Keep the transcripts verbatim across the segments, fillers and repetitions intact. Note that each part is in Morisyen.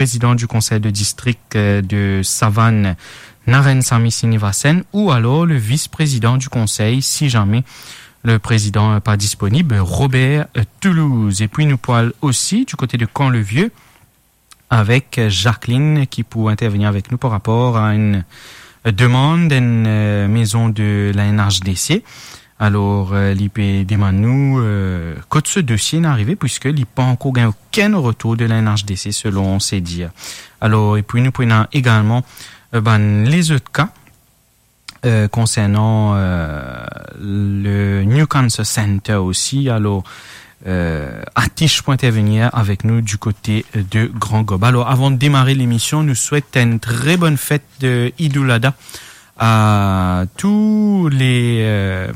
président du conseil de district, euh, de Savane, Narain Sami Srinivasan, ou alors le vice-président du conseil, si jamais le président n'est pas disponible, Robert, euh, Toulouse. Et puis nous pourrons aussi du côté de Camp-le-Vieux avec, euh, Jacqueline qui pourra intervenir avec nous par rapport à une, euh, demande d'une, euh, maison de la N H D C. Alor, euh, li pe demann nou, euh, kot se dosie inn arive, puiske li pa ankor gagn okenn retour de la N H D C, selon ses dires. Alor, epi nou pou ena egalman, euh, bann lezot ka, euh, konsernan, euh, le New Cancer Center osi. Alor, euh, Atish pou intervenir avek nou du kote de Grand Gob. Alor, avan de demare lemision, nou swet enn tre bonn fet de Eid al-Adha à tous les, euh,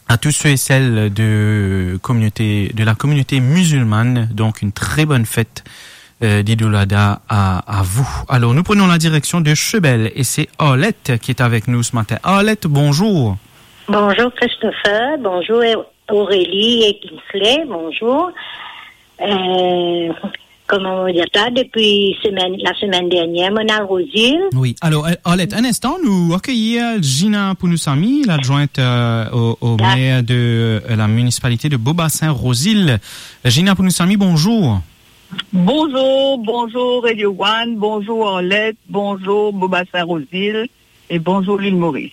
à tous ceux et celles de communauté, de la communauté musulmane, donc une très bonne fête, euh, d'Eid al-Adha à, à vous. Alors, nous prenons la direction de Cheubel et c'est Arlette qui est avec nous ce matin. Arlette, bonjour. Bonjour Christopher, bonjour Aurélie et Kingsley, bonjour. Euh, kouma mo dir sa, depi semenn, lasemenn dernier, mo inn al Rosil. Wi, alor, euh, Arlette, enn instan, nou akeyir Gina Pounoussamy, ladjwint, euh, au, au maire de, euh, la municipalité de Beau-Bassin Rosil. Gina Pounoussamy, bonjour. Bonjour, bonjour Radio One, bonjour Arlette, bonjour Beau-Bassin Rosil. Et bonjour l'île Maurice.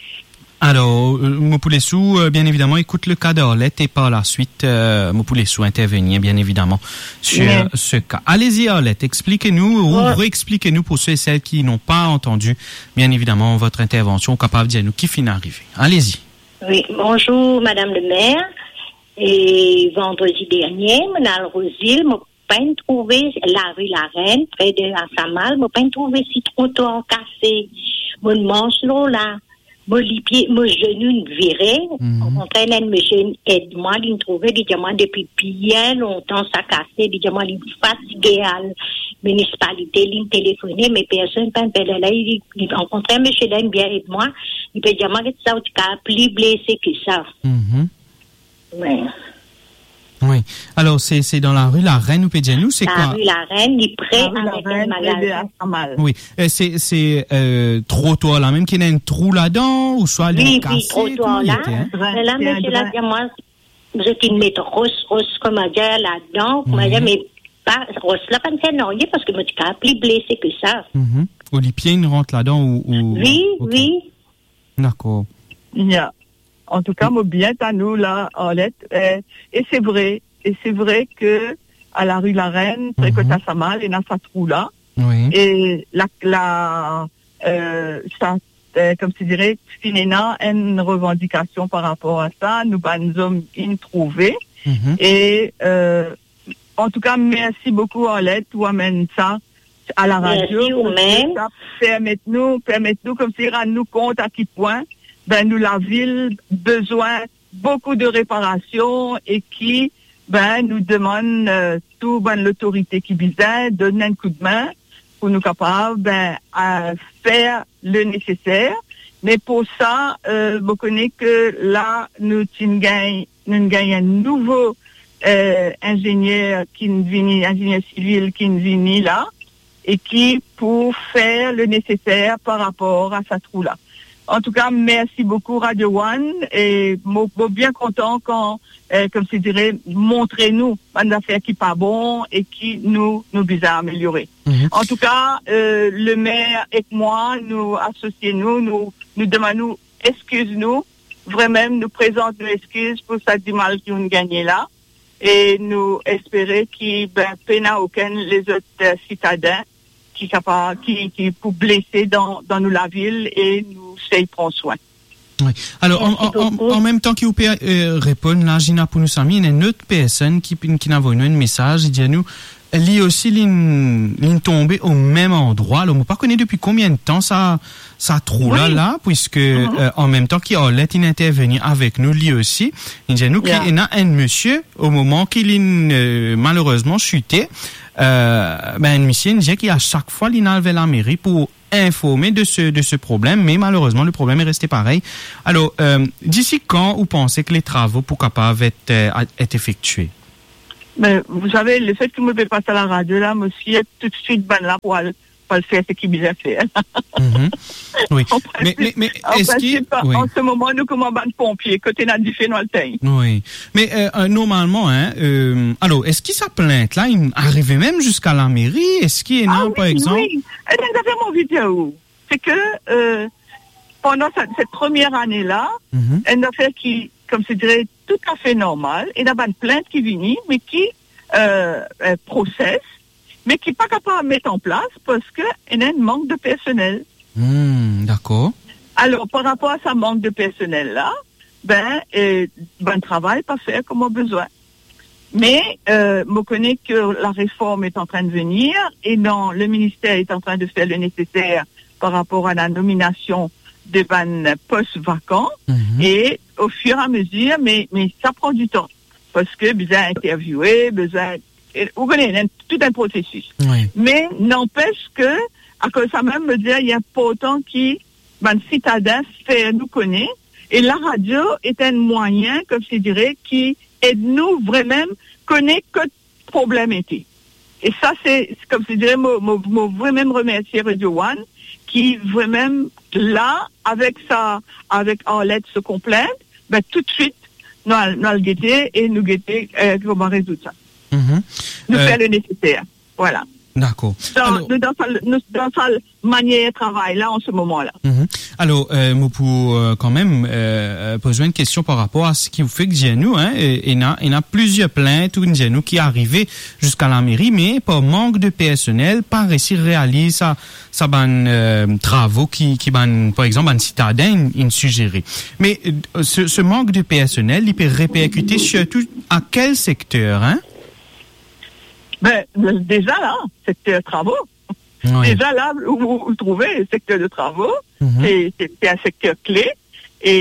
Alors, euh, mo pou les ou, euh, bien évidemment, écoute le cas d'Arlette et par la suite, euh, mo pou les ou intervenir, bien évidemment, sur ce cas. Allez-y, Arlette, expliquez-nous ou réexpliquez-nous pour ceux et celles qui n'ont pas entendu, bien évidemment, votre intervention, ou kapav dir nou ki finn arive. Allez-y. Wi, bonzour, Madam le Maire. E vandredi dernie, mo inn al Rosil, mo pa'nn trouve lari Larenn, pre de Asamal, mo pa'nn trouve si trotwar kase. Mo mars lor la, mo lipie, mo zenou inn vire. Okontrer, enn misie inn ed mwa, li'nn trouve, li dir mwa depi bien lontan sa kase, li dir mwa li fatige al minisipalite, li'nn telefone, me personn pa'nn pe la, li, li okontrer, misie la inn bien ed mwa, li pe dir mwa, get sa, ou ti kapav pli blese ki sa. Wi. Wi. Alors, c'est, c'est dans la rue Larenn, ou pe dir nou, c'est quoi ? La rue Larenn, li pre avek enn magazin. Wi. E se, se, euh, trotwar la mem ki ena enn trou ladan, ouswa li kase, kouma li ete, hein ? Wi, wi, trotwar la. Me la, misie la dir mwa, zot inn met ros, ros, kouma dir, ladan, kouma dir, me pa, ros la pa'nn fer nanye, parski mo ti kapav pli blese ki sa. Ou lipie inn rant ladan, ou, ou... Wi, wi. Dakor. Ya. Antouka, mo bien tann ou la, Arlette. Eh, e se vre, e se vre ke a la rue Larenn, pre kot Asamal, ena sa trou la. Wi. E la, la, eh, sa, eh, kouma dir, finn ena enn revandikasion par rapor a sa, nou bann zom inn trouve. E, eh, Antouka, mersi boukou, Arlette, ou amenn sa a la radio. Mersi ou mem. Sa permet nou, permet nou koumsi rann nou kont a ki pwin, ben, nou lavil bizin boukou de reparasion e ki, ben, nou demann, eh, tou bann lotorite ki bizin donn enn koudmin pou nou kapav, ben, eh, fer le neseser. Me pou sa, eh, mo kone ke la, nou ti gagn nou gagn enn nouvo, eh, inzenier ki vini, inzenier sivil ki vini la, e ki pou fer le neseser par rapor a sa trou la. Antouka, mersi boukou Radio One, e mo, mo bien kontan kan, eh, koumsi dir, montre nou bann zafer ki pa bon e ki nou, nou bizin ameliore. Antouka, eh, le maire ek mwa, nou asosie nou, nou, nou demann nou eskiz nou, vremem nou prezant nou eskiz pou sa dimal ki nou gagne la, e nou espere ki, ben, pena okenn lezot, eh, sitadin ki kapa-, ki, ki pou blese dan, dan nou lavil e nou sey pran swin. Wi. Alor, an, an, an, an mem tan ki ou pe, eh, reponn la, Gina Pounoussamy, ena enn lot personn ki, ki inn avoy nou enn mesaz, li dir nou, li osi, li, li tonbe o mem landrwa. Alor, mo pa kone depi konbien de tan sa, sa trou la, la, puiske, eh, an mem tan ki Arlette inn intervenir avek nou, li osi, li dir nou ki ena enn misie, o moman ki li, eh, malerezman site, eh, ben, enn misie, li dir ki a sak fwa li inn al ver lameri pou informe de se, de se problem, me malerezman, le problem est resté pareil. Alor, eh, disi kan ou panse ki le travo pou kapav et, eh, et efektie? Me, vous savez, le fait que mo pe pas a la radio la, mo sir toutswit bann la pou al, pou al fer seki bizin fer. Mhm. Wi. An prinsip, an prinsip, an se moman, nou kouma bann ponpie, kot ena dife, nou al tegn. Wi. Me, euh, euh, normalman, hein, euh, alor, eski sa plint la, inn arive mem ziska lameri? Eski ena, par exanp... Ah wi, wi. Ena enn zafer mo anvi dir ou, se ke, euh, pandan sa, set premie ane la, enn zafer ki, kouma dir, toutafe normal, ena bann plint ki vini, me ki, euh, euh, proses, me ki pa kapav met an plas parski ena enn mank de personel. Hmm, dakor. Alor, par rapor a sa mank de personel la, ben, euh, bann travay pa fer kouma bizin. Me, euh, mo kone ke la reform est en train de venir e dan le minister est en train de faire le nécessaire par rapor a la nominasion de bann pos vakan e au fur et à mesure, me, me sa pran ditan. Parski bizin interviewe, bizin, e, ou kone, ena tout enn prosesis. Wi. Me nanpes ke, akoz sa mem, mo dir, li inportan ki bann sitadin fer nou kone, e la radio est un moyen, kouma dir, ki ed nou vremem kone kot problem ete. E sa, se, se kouma dir, mo, mo, mo vremem remersie Radio One, ki vremem la, avek sa, avek Arlette so konplint, ben, toutswit, nou al, nou al gete e nou gete, euh, kouma rezoud sa. Mhm. Nou fer le neseser. Vwala. Dakor. Dan, alor, nou dan sa, nou dan sa manier travay la an se moman la. Mhm. Alor, euh, mo pou, euh, kanmem, euh, euh, poz ou enn kestion par rapor a seki ou fek dir nou, hein, e, ena, ena plizier plint ou dir nou ki arive ziska lameri, me par mank de personel, pa resi realiz sa, sa bann, euh, travo ki, ki bann, par exanp, bann sitadin inn, inn sizere. Me, euh, se, se mank de personel, li pe reperkite sirtou a kel sekter, hein? Ben, deza la, sekter travo. Wi. Deza la, ou, ou, ou trouve, sekter de travo, mhm, se, se, se enn sekter kle, e,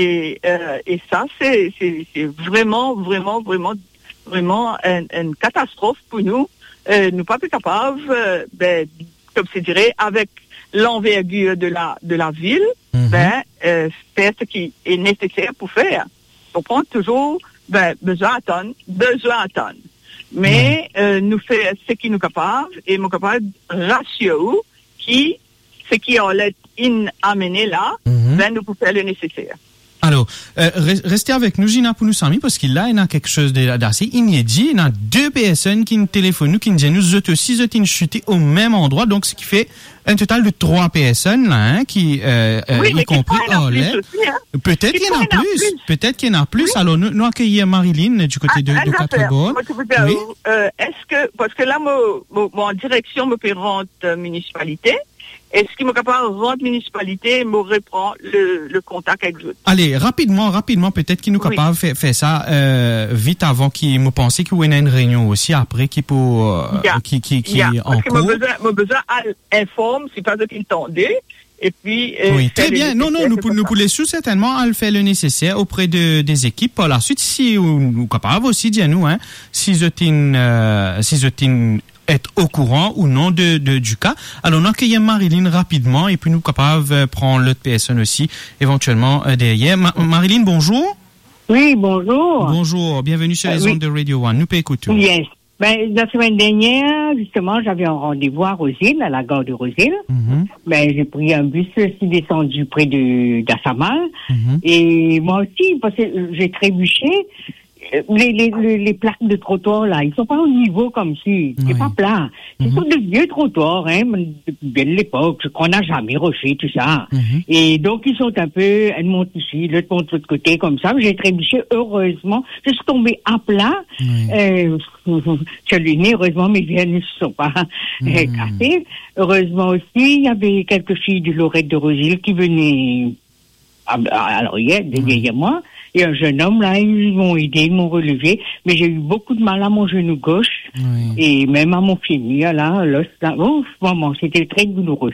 euh, e sa, se, se, se vreman, vreman, vreman, vreman enn, enn katastrof pou nou. Euh, nou pa pe kapav, euh, ben, kouma dir, avek lanvergir de la, de la vil, mhm, ben, euh, fer seki neseser pou fer. Konpran? Touzour, ben, bizin atann, bizin atann. Me, wi, euh, nou fer seki nou kapav, e mo kapav rasir ou ki seki Arlette inn amene la, mhm, ben, nou pou fer le neseser. Alor, euh, re-, reste avek nou, Gina, pou nou sami, parski la, ena kiksoz de, dase inedi, ena de personn ki'nn telefonn nou, ki'nn dir nou, zot osi, zot inn site o mem landrwa, donk, seki fer enn total de trwa personn la, hein, ki, euh, euh, wi, me ki konpri ena plis Arlette osi, hein. Petet ki ena plis, petet ki ena plis. Wi. Alor, nou, nou akeyir Marilyn di kote de, de Quatre-Bornes. Ah, enn zafer, mo ti pou dir, wi, euh, eski, parski la, mo, mo, mo an direksion, mo pe rant, euh, minisipalite. Eski mo kapav rant minisipalite, mo repran le, le kontak avek zot? Ale, rapidman, rapidman, petet ki nou, wi, kapav fer, fer sa, euh, vit avan ki, mo panse ki ou ena enn reynion osi apre ki pou, euh, ya, ki, ki, ki, ya, an kour. Parski mo bizin, mo bizin al inform, si pa zot inn tande, epi, euh, wi, fer le neseser. Tre bien. Non, non, nou pou, nou pou les ou sertennman al fer le neseser opre de, de zekip par laswit, si ou, ou kapav osi dir nou, hein, si zot inn, euh, si zot inn et okouran ou non de, de, di ka. Alor, nou akeyir Marilyn rapidman, epi nou kapav, euh, pran lot personn osi, evantielman, euh, deryer. Ma-, Marilyn, bonzour. Wi, bonzour. Bonzour, bienvenue sur, euh, les, wi, ondes de Radio One. Nou pe ekout ou. Yes. Ben, la semaine dernière, justement, j'avais un rendez-vous à Rose-Île, à la gare de Rose-Île. Mhm. Ben, j'ai pris un bus, je suis descendue près de, d'Assamal. Mhm. Et moi aussi, parce que j'ai trébuché, euh, les, les, les, les plaques de trottoir, là, ils sont pas au niveau comme si, c'est, oui, pas plat. Ce, mhm, sont de vieux trottoirs, hein, depuis belle époque, qu'on n'a jamais refait, tout ça. Mhm. Et donc, ils sont un peu, elle monte ici, l'autre monte de l'autre côté, comme ça. J'ai trébuché, heureusement, je suis tombée à plat. Oui. Euh, sur le nez, heureusement, mes veines ne se sont pas, euh, cassées. Mhm. Heureusement aussi, il y avait quelques filles du Lorette de Rose-Île qui venaient à, à, à l'arrière, de, ouais, derrière moi. Et un jeune homme, là, ils m'ont aidé, ils m'ont relevé. Mais j'ai eu beaucoup de mal à mon genou gauche, oui, et même à mon fémur, là, l'os, là. Ouf, vraiment, c'était très douloureux.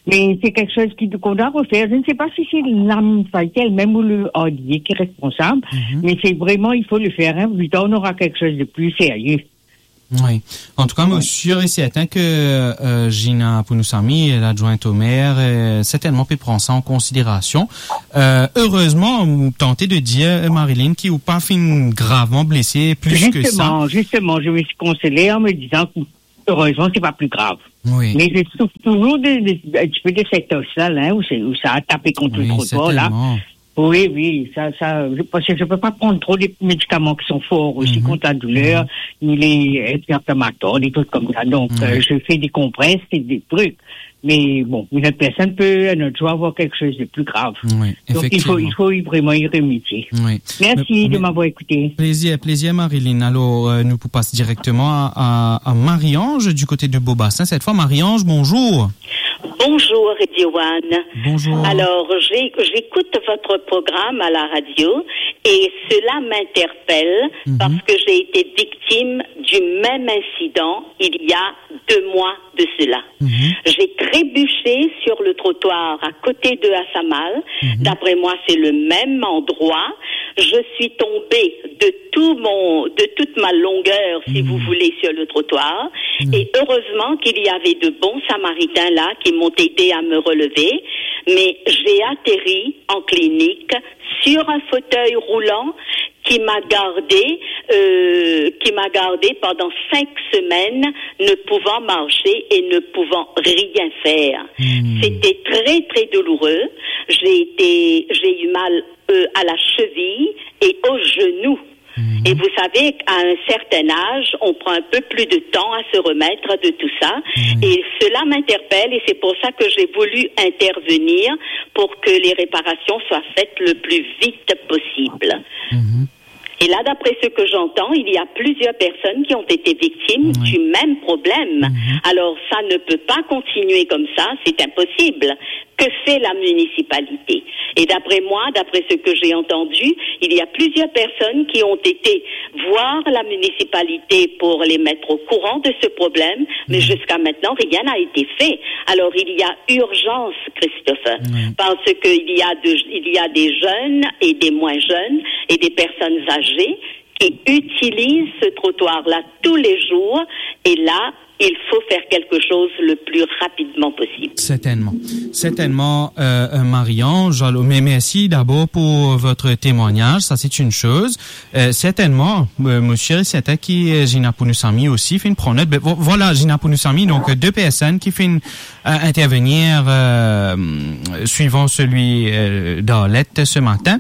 Mais c'est quelque chose qui, qu'on doit refaire. Je ne sais pas si c'est l'âme fatale même ou le hardier qui est responsable, mhm, mais c'est vraiment, il faut le faire, hein. Plus tard, on aura quelque chose de plus sérieux. Wi. Antouka, mo sir e serten ke, euh, Gina Pounousamy, ladjwint o mer, euh, sertennman pe pran sa an konsiderasion. Euh, erezman, tante de dir, euh, Marilyn, ki ou pa finn gravman blese plis ke sa. Justement, justement, je me suis consolée en me disant que heureusement, c'est pas plus grave. Wi. Mais je souffre toujours de, de, un petit peu de cette os-là, là, où c'est, où ça a tapé contre le trottoir, là. Wi, sertennman. Oui, oui, ça, ça, je, parce que je peux pas prendre trop de médicaments qui sont forts aussi contre la douleur, ni les anti-inflammatoires, des trucs comme ça. Donc, euh, je fais des compresses et des trucs. Mais bon, une autre personne peut un autre jour avoir quelque chose de plus grave. Wi, efektivman. Donc, il faut, il faut y, vraiment y remédier. Wi. Merci de m'avoir écouté. Plezir, plezir, Marilyn. Alor, euh, nou pou pas direkteman a, a, a Marie-Ange du kote de Beaubassin. Set fwa, Marie-Ange, bonzour. Bonjour, Radio One. Bonjour. Alors, j'ai- j'écoute votre programme à la radio et cela m'interpelle parce que j'ai été victime du même incident il y a deux mois de cela. J'ai trébuché sur le trottoir à côté de Assamal. D'après moi, c'est le même endroit. Je suis tombée de tout mon, de toute ma longueur, si vous voulez, sur le trottoir. Et heureusement qu'il y avait de bons samaritains là qui m'ont aidé à me relever. Mais j'ai atterri en clinique sur un fauteuil roulant qui m'a gardé, euh, qui m'a gardé pendant cinq semaines, ne pouvant marcher et ne pouvant rien faire. C'était très, très douloureux. J'ai été, j'ai eu mal, euh, à la cheville et au genou. Et vous savez, à un certain âge, on prend un peu plus de temps à se remettre de tout ça. Et cela m'interpelle et c'est pour ça que j'ai voulu intervenir pour que les réparations soient faites le plus vite possible. Et là, d'après ce que j'entends, il y a plusieurs personnes qui ont été victimes du même problème. Alors, ça ne peut pas continuer comme ça, c'est impossible. Que fait la municipalité ? Et d'après moi, d'après ce que j'ai entendu, il y a plusieurs personnes qui ont été voir la municipalité pour les mettre au courant de ce problème, mais jusqu'à maintenant, rien n'a été fait. Alors, il y a urgence, Christopher, parce qu'il y a de- il y a des jeunes et des moins jeunes et des personnes âgées qui utilisent ce trottoir-là tous les jours, et là, il faut faire quelque chose le plus rapidement possible. Certainement. Certainement, euh, euh, Marie-Ange. Alors, mais merci d'abord pour votre témoignage, ça c'est une chose. Euh, certainement, euh, mo sir e serten ki, euh, Gina Pounousamy osi finn pran not. Ben, vo- voilà, Gina Pounousamy, donc, euh, deux personnes qui finn euh, intervenir, euh, suivant celui, euh, d'Arlette ce matin.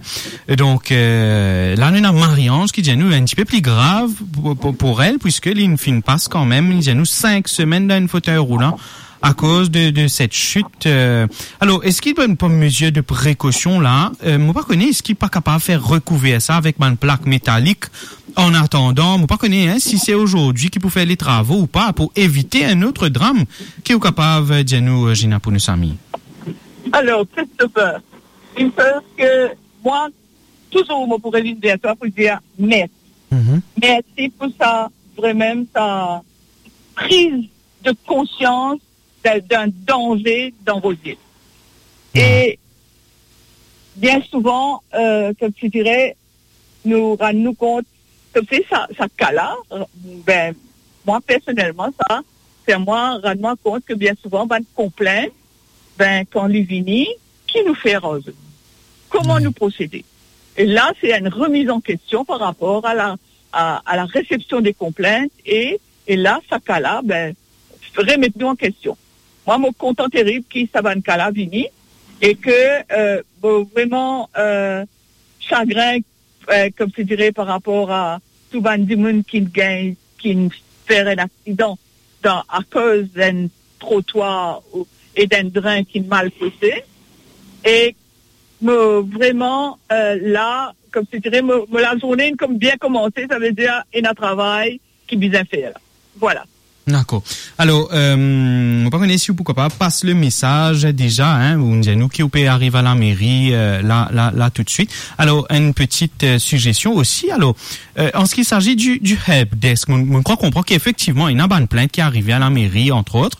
Donc, euh, la nou ena Marie-Ange ki dir nou un petit peu plus grave pour, pour, pour elle, puisque li finn pas kanmem, li dir nou cinq semaines dans un fauteuil roulant à cause de, de cette chute. Euh, alors, est-ce qu'il y a une mesure de précaution là ? Euh, mo pa kone, eski pa kapav fer rekouver sa avek bann plak metalik? An atandan, mo pa kone, hein, si se azordi ki pou fer letravo ou pa, pou evite enn lot dram, ki ou kapav dir nou, euh, Gina Pounousamy? Alors, Christopher, une chose que moi, toujours, mo pou revinn ver twa pou dir mersi. Mhm. Mersi pou sa, vremem, sa prise de conscience d'un, d'un danger dans vos yeux. Mhm. Et bien souvent, euh, comme tu dirais, nou rann nou kont, kouma sa, sa ka la, ben, mwa personelman, sa fer mwa rann mwa kont ke bien souvan, bann konplint, ben, kan li vini, ki nou fer ar zot? Kouma nou prosede? E la, se enn remiz an kestion par rapor a la, a, a la resepsion de konplint, e, e la, sa ka la, ben, remet nou an kestion. Mwa, mo kontan terib ki sa bann ka la vini, e ke, euh, bon, vreman, euh, sagrin, euh, kouma dire, par rapor a tou bann dimoun ki gagn, ki fer enn aksidan dan, akoz enn trotwar ou, e d'enn drin ki mal pese. E mo vreman, euh, la, kouma dire, mo, mo lazourne inn kouma bien koumanse, savedir ena travay ki bizin fer la. Vwala. Dakor. Alor, euh, mo pa kone si ou pou kapav pas le mesaz deza, hein, ou dir nou ki ou pe ariv a lameri, euh, la, la, la toutswit. Alor, enn pti, euh, sigestion osi. Alor, euh, an se ki sazi di, di help desk, mo, mo krwar konpran ki efektivman, ena bann plint ki arive a lameri, entre autres.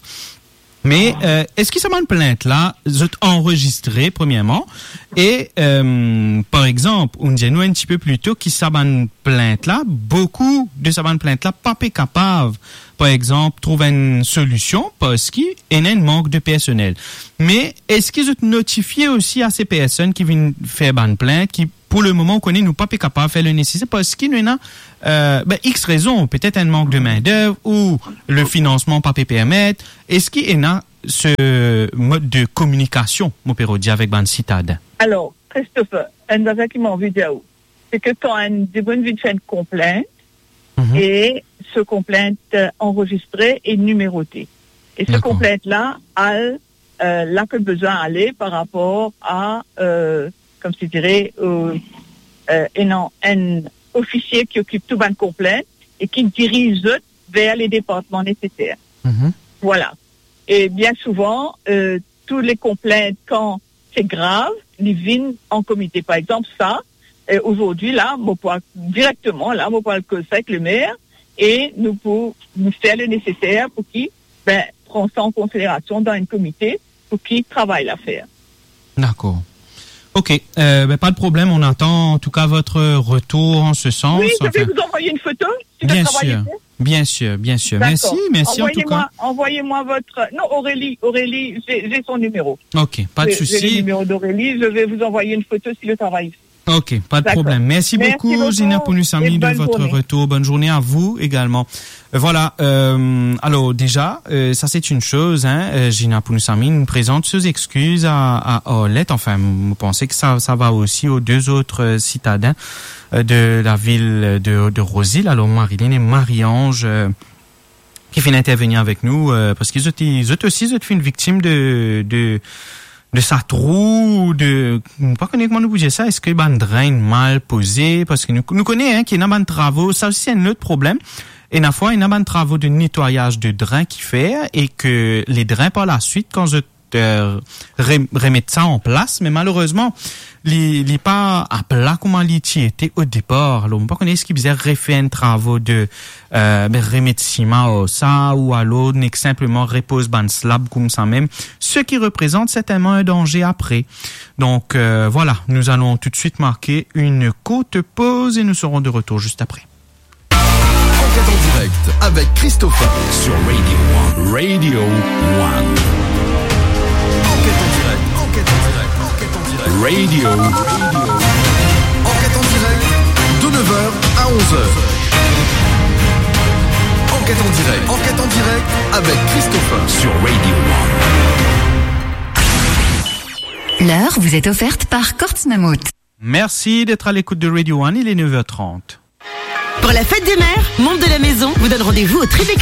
Me, eh, eski sa bann plint la, zot anrezistre, premierman? E, eh, par exanp, ou'nn dir nou enn tipe pli to ki sa bann plint la, boukou de sa bann plint la pa pe kapav, par exanp, trouv enn solision parski ena enn mank de personel. Me eski zot notifie osi a se personn ki vinn fer bann plint, ki pou le moman, ou kone, nou pa pe kapav fer le neseser parski nou ena, eh, ben, X rezon, petet enn mank de main-d'œuvre ou le finansman pa pe permet? Eski ena se mod de kominikasion, mo pe rod dir, avek bann sitaden? Alor, Christopher, enn zafer ki mo anvi dir ou, se ke kan enn dimoun vinn fer enn konplint, Mhm. E se konplint, eh, anrezistre e nimerote. E se Dakor. konplint la al, eh, la ki bizin ale par rapor a, eh, kouma dir, eh, enn, enn ofisie ki okip tou bann konplint e ki diriz zot ver le departman neseser. Mhm. Vwala. E bien souvan, eh, tou le konplint, kan se grav, li vinn an komite. Par exanp, sa, eh, azordi la, mo pou al direkteman la, mo pou al koz avek le mer e nou pou nou fer le neseser pou ki, ben, pran sa an konsiderasion dan enn komite pou ki travay la fer. Dakor. Ok, eh, ben, pas de problème, on attend en tout cas votre retour en ce sens. Oui, je vais Enfin, vous envoyer une photo, si le bien travail sûr, est fait. Bien sûr, bien sûr. D'accord. Merci, merci en tout cas. Envoyez-moi, envoyez-moi votre, non, Aurélie, Aurélie, j'ai, j'ai son numéro. Ok, pas de souci. J'ai, j'ai le numéro d'Aurélie, je vais vous envoyer une photo si le travail est fait. Ok, pas de problème. D'accord. Merci beaucoup, Zina Pounousamy, de votre retour. Merci beaucoup et bonne journée. Bonne journée à vous également. Euh, voilà, euh, alors déjà, euh, ça c'est une chose, hein, euh, Zina Pounousamy nous présente ses excuses à, à Arlette. Enfin, je pense que ça, ça va aussi aux deux autres, euh, citadins, euh, de la ville de, de Rose-Île. Alors, Marilyn et Marie-Ange, euh, ki finn intervenir avek nou, euh, parski zot, zot osi, zot finn viktim de, de, de sa trou, de, mo pa kone kouma nou pou dir sa, eski bann drin mal poze, parski nou, nou kone, hein, ki ena bann travo, sa osi se enn lot problem. Ena fwa, ena bann travo de netwayaz de drin ki fer, e ke le drin par la swit, kan zot, euh, re-, remet sa an plas, me malerezman, li, li pa apla kouma li ti ete o depar. Alor, mo pa kone eski bizin refer enn travo de, euh, ben, remet sima ar sa, ou alor nek sinpleman repoz bann slab koumsa mem, ce qui représente certainement un danger après. Donc, euh, voilà, nous allons tout de suite marquer une courte pause et nous serons de retour juste après. Enquête en direct avec Christopher sur Radio One. Radio One. Enquête en direct, enquête en direct, enquête en direct. Radio One. Enquête en direct de neuf heures à onze heures. Enquête en direct, enquête en direct avec Christopher sur Radio One. L'heure vous est offerte par Courts Mammouth. Merci d'être à l'écoute de Radio One, il est neuf heures trente. Pour la fête des mères, Monde de la Maison vous donne rendez-vous au Tribeca